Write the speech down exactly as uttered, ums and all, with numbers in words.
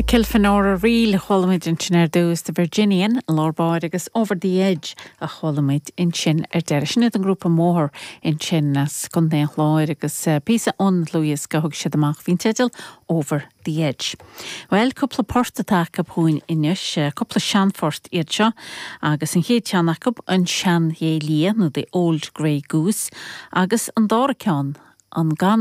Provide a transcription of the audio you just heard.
Kilfenora Reel a chuala muid ansin ar dtús The Virginian lár báire agus Over the Edge a chuala muid ansin ar deireadh. Sin iad an grúpa Mothar ansin as Contae an Chláir agus uh, píosa ón dlúthdhiosca thug siad amach faoin teideal Over the Edge. Well cúpla port atá acu chugainn anois, cúpla seanphort iad seo agus an chéad cheann acu an Seanghé Liath nó the Old Grey Goose agus an dara ceann an gan